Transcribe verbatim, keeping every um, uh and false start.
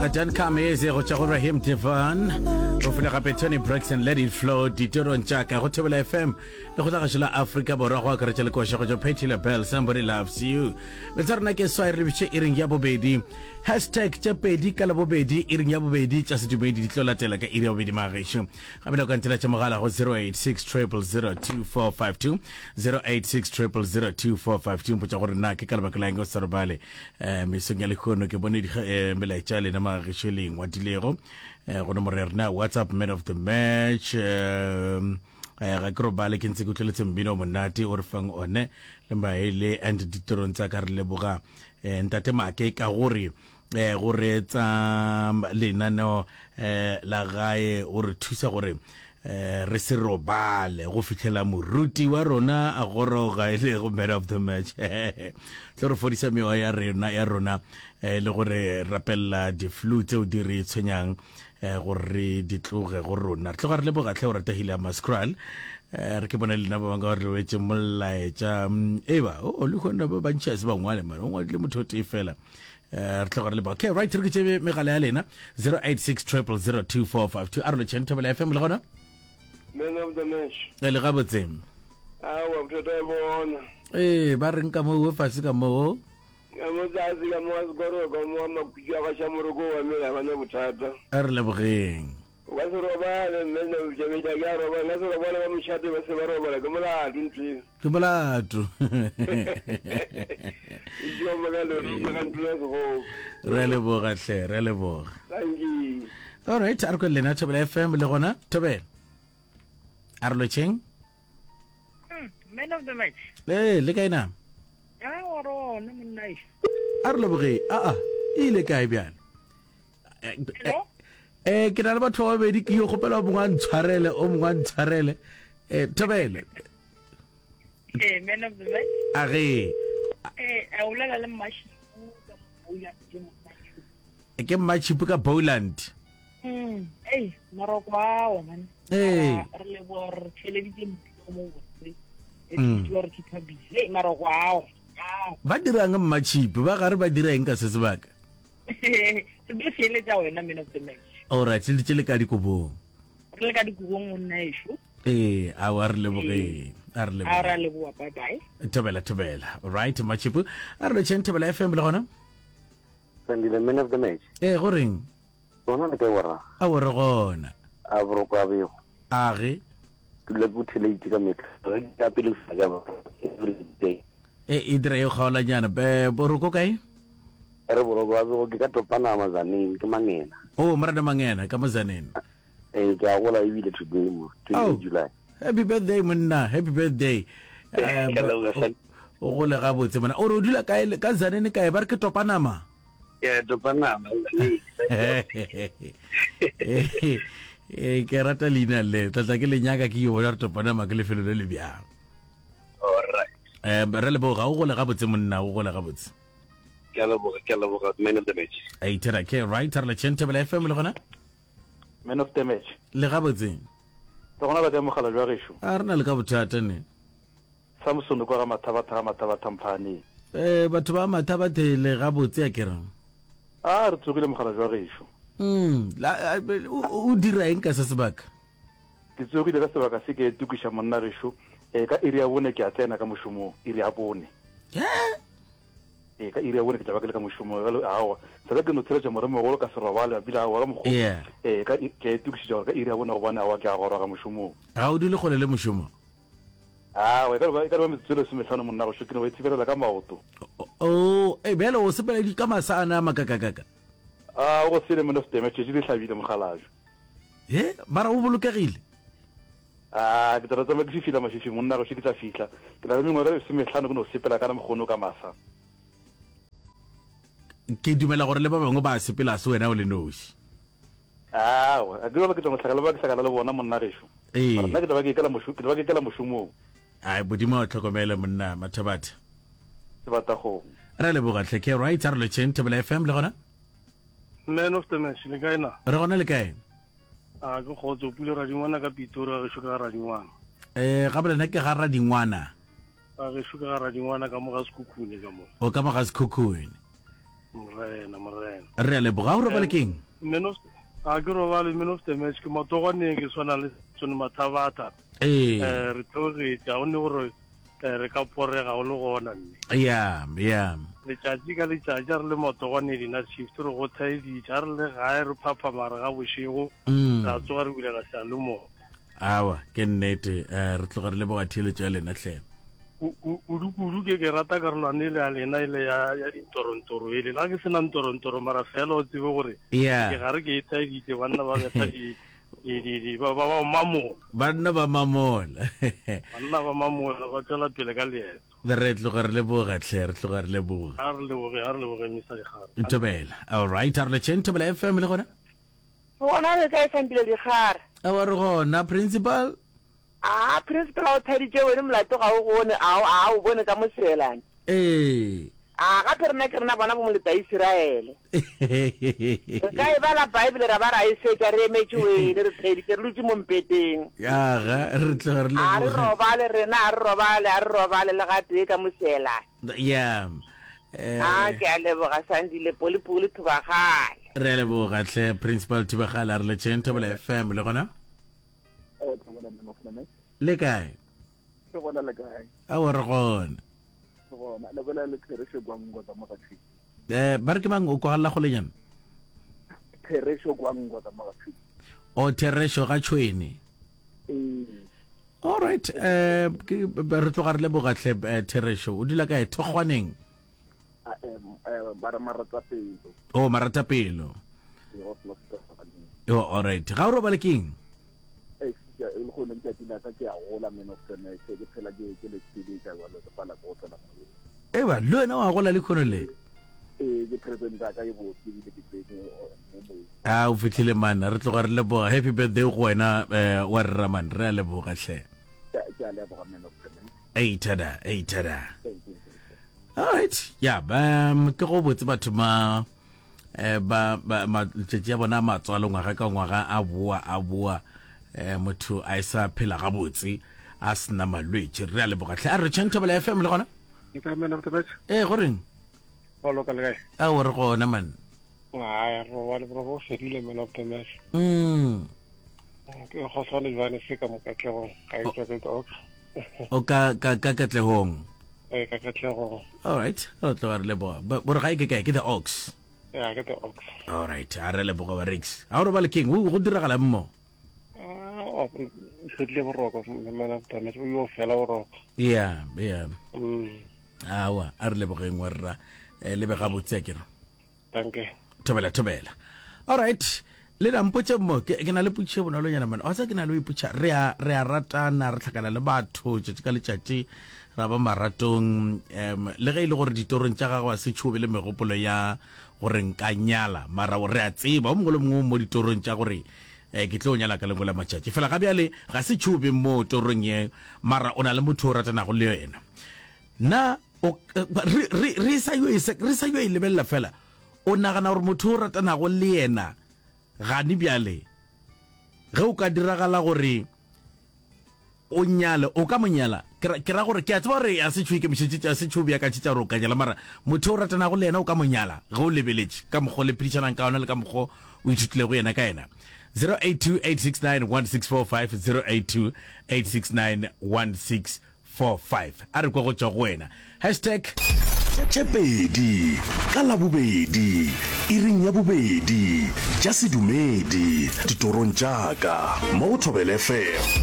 Don't Come Easy go tšwa go Rahim Devon go fela gape Tony Braxton Let It Flow ditorong tša ka go Thobela FM le go tla la Afrika Borwa go akaretša le koša go tšwa Patti LaBelle Somebody Loves You le tsa rena ke swai re lebiše iring ya bobedi hashtag tše pedi ka labobedi iring ya bobedi tša sedumedi di tlo latela ka iri ya bobedi magešo gape le ka ntela tša mogala go zero eight six triple zero two four five two zero eight six triple zero two four five two mpotša gore na ke ka lebaka la eng o sa robale um mesong ya lehono ke bone eh, melaetša ya lena magešo le ngwadilego um go nomoro ya rena WhatsApp man of the match um ga ke robale ke ntse ke utlweletse mmino o monate o re fang one le maele and ditirong tsa ka re leboga um ntate Make ka gore um go reetsa lenaneo um la gae o re thusa gore um re se robale go fihlela moruti wa rona a goroga e lego man of the match tlo re fodisa mewa ya rena ya rona um le gore rapelela di-flu tseo di re tshwenyang um gore re di tloge go rona re tloga re leboga tlhe o ratagile ya mascral um re ke bone lena ba bangwe ka gore le wetse molaetša eba o le kgone ba bantši a se ba ngwale mane o ngwadile motho o tee fela um re tloga re leboga okay right re ke tšebe megala ya lena zero eight six triple zero two four five two a re lotšheng Thobela F M le gona Man of the match. E le gabotse. Aowa bothata e bona. Ee, ba reng ka moo fase ka moo? Ka mo tlase ka mo sekoro ka mo makhutšo a gaša moroko wa mela ba na bothata. A re lebogeng. O ka se robale mme nna tšabetša ke a robala nka se robale ba mošate ba se ba robala ke molato ntho eo. Ke molato. Itšoma ka lorito ka ntlo ya segogo. Re a leboga hle, re a leboga. Thank you. All right, a re kwe lena Thobela F M le gona Thobela. A re lotšheng. Man of the match. Ee, le kae na? Ya rona monna e. A re leboge. A a, e ile kae bjale? Hello? Eh, ke na le batho ba babedi ke yo kgopela o mongwe a ntshwarele, o mongwe a ntshwarele. Eh, Thobela. Eh, man of the match. A ge. Eh, a o bolela le Mmatšhipu ka Boland ke monna. Ke Mmatšhipu ka Boland. Mm, ei, maroko ao man. Ee. Re leboga re theleditse mmino mo botse. E tlo re keep busy. Ei, maroko ao. Ba dirang Mmatšhipu? Ba gare ba dira eng ka se sebaka? Se be theletsa wena man of the match. All right, le tše le ka dikobong. Re le ka dikobong monna ešo. Ee, a wa re lebogeng. A re lebogeng. A re leboga, bye bye. Thobela, thobela. All right, Mmatšhipu. A re lotšheng Thobela F M le gona? Sandile, man of the match. Ee, go reng? Gona le kae warra? A o re gona. A boroko a bego. A ge. Ke dula ke o theletše ka mehla. Ge ke ya pele ke ba every day. E e dira e kgaolanyana. Be boroko kae? Re boroko a bego ke ka Topanama Zaneng ke Mangena. Oh, morena Mangena ka mo Zaneng. Eh, ke a gola ebile today mo, twenty-eight July. Happy birthday monna, happy birthday. Eh, o gole gabotse monna. O re o dula kae ka Zaneng kae ba re ke Topanama? Yeah, Topanama. Eh, ke rata leina le. Tla tla ke le nyaka ke yo bona re Topanama ke lefelo le le bjang. All right. Eh, re leboga o gole gabotse monna, o gole gabotse. Ke a leboga, ke a leboga man of the match. Ei, thera ke right re le Thobela F M le gona? Man of the match. Le gabotse. Le gona ba ka mogala jwa gešo. A re na le ka bothata ne. Samson kwa ga Mathabatha ga Mathabatha Mphaaneng. Eh, batho ba Mathabathe le gabotse a ke re. A re tsogile mogala jwa gešo. Mm, la, o dira eng ka se sebaka? Ke tsogile ka sebaka se ke itokiša monna gešo. Eh, ka iri ya bone ke a tsena ka mošomong, iri ya bone. Eh? Eh, ka iri ya bone ke tla ba ke le ka mošomong. Jalo, aowa, sala ke no tsheletša moremogolo ka se robale, ebile aowa ka mokgo. Yeah. Eh, ka, ke a itokišetša gore ka iri ya bone gobane aowa ke a goroga mošomong. Ga o dule kgole le mošomo? Aowa, e ka ba, e ka ba metsotso e lesomehlano monna gešo, ke no ba ithibelela ka maoto. Oh, eh, bjale o sepela ka masa ana a makakakaka? A o go sele man of the match, tšatši le hlabile mogalajwe. He, mara o bolokegile? A ke tla tsamaya ke fifila mafifi monna gešo, ke tla fihla. Ke na le mengwaga e lesomehlano ke no sepela ka mokgono ka masa. Ke dumela gore le ba bangwe ba sepela se wena o le noši. Aowa, a ke ba ke tla mohlakala ba ke hlakala le bona monna gešo. Ee. Mara nna ke tla ba ke ikela mošo, ke tla ba ke ikela mošomong. Ai, Modimo a o tlhokomele monna Mathabatha. Sebatakgomo. Re leboga hle ke right a re lotšheng Thobela F M le gona? Man of the match le kae na? Re gona le kae? A ke kgotso pule radingwana ka Pitori ga gešo ka ga radingwana. Eh, ga bolena ke ga radingwana. Ga gešo ka ga radingwana ka mo ga Sekhukhune ka mo. O ka mo ga Sekhukhune. Morena, morena. Re a leboga. O robale keng? Man of a ke robale man of the match ke matogwaneng ke tshwana le Tsone Mathabatha. Ee. Eh re theogetše ga go ne gore eh, re ka porega go le gona mme. Ya, ya. Letšatši ka letšatši a re le matogwane dina shift re go thaeditše a re le gae re phaphama re ga bošego Mm. ra tsoga re bulela seyalemoya. Awa, ke nnete. Eh, re tloga re leboga theeletšo ya lena hle. Kudu-kudu ke ke rata karolwana ele ya lena ele ya ya dintorontoro ele. La ke sena ntorontoro mara fela o tsebe gore Yeah. ke gare ke e thaeditše banna ba betha di di di di ba ba ba mamola. Banna ba mamola. Banna ba mamola ba tšwela pele ka leeto. Re tloga re leboga hle, re tloga re leboga. A re leboge, a re leboge Mister Dikgare. Thobela. All right, a re letšeng Thobela F M le gona. Gona re kae Sandile Dikgare? Awa re gona principal. A principal a o thaditše wene molato ga o gone a a o bone ka moseelane. Ee. A gape rena ke rena bona bo moleta Isiraele. Re ka e bala Bible ra ba ra e fetša re emetše wene re theditše re dutše mo mpeteng. Aga re tloga re A re leboga. robale rena a re robale a re robale le gatee ka moseelane. Ya. A Eh ke a leboga Sandile Polipoli Thubagale. re a leboga hle principal Thubagale a re letšeng Thobela F M le gona. Le kae? Re gona le kae? Aowa re gona. Re gona. Le bolela le Therešo Gwangwa ka mo Gatšhwini. Eh ba re ke mang o kwagalla golenyana? Therešo Gwangwa ka mo Gatšhwini. O Therešo ga Tšhwene. Ee. All right, eh ke re tloga re leboga hle eh, Therešo. O dula kae Thokgwaneng? A em eh ba re Maratapelo. Oh Maratapelo. Ee, go selo se ka Oh all right. Ga o robale keng? Ee, ke e le gone letšatši la ka ke a gola man of the match ke phela ke ke le tsheditša jalo ke pala go tsena moyeng. Eba le wena wa gola le khono le. Ee, ke present ya ka e botse ebile ke tsene mo moyeng. A o fihlile man, re tloga re leboga. Happy birthday go wena eh wa rra man, re a leboga hle. Ke ke a leboga man of the match. Ei tada, ei tada. Thank you. All right. Ya, um ke go botse batho ma eh ba ba matšatši a bona a matswalo ngwaga ka ngwaga a boa a boa eh motho a e sa phela gabotse a sena malwetši re a leboga hle a re tšheng Thobela F M le gona Ke ka man of the match. Ee go reng Go loka le kae? Ao re gona man. Ai re robale bro go fedile man of the match. Mm. Ke kgohlane jwane se ka mo katlehong ga e tswa ke ox. O ka ka ka katlehong. Ee ka katlehong. All right, re tloga re leboga. Bo re ga e ke kae ke the ox. Ya ke the ox. All right, a re leboga ba Rex. A o robale keng? Go diragala mo. Ah, o fedile boroko man of the match o yo fela boroko. Yeah, yeah. Mm. Awa, a re lebogeng wa rra. Eh, le be gabotse a kere. Danke. Thobela, thobela. All right. Le na mpotše mo ke ke na le potšišo bonolonyana man. Wa tseba ke na le ho ipotša re a re a ratana re hlakana le batho tšatši ka letšatši ra ba maratong um le ge e le gore ditorong tša gago a se tšhobe le megopolo ya gore nka nyala mara re a tseba o mongwe le mongwe mo ditorong tša gore eh ke tlo nyala ka lengwe la matšatši fela ga bjale ga se tšhobe mo torong ye mara o na le motho o ratanago le yena na o re re re sa yo e re sa yo e lebelela fela o nagana gore motho o ratanago le yena gane bjale ge o ka diragala gore o nyale o ka mo nyala ke ra gore ke a tseba gore a se tšho ikemišetše a se tšho beakantšhetša gore o ka nyala mara motho o ratanago le yena o ka mo nyala ge o lebeletše ka mokgwa le phedišanang ka ona le ka mokgwa o ithutilego yena ka yena zero eight two eight six nine one six four five zero eight two eight six nine one six four five a re kwa go tšwa go wena hashtag Tše pedi ka Labobedi, iring ya bobedi, tša sedumedi, ditorong tša ka, mo go Thobela F M.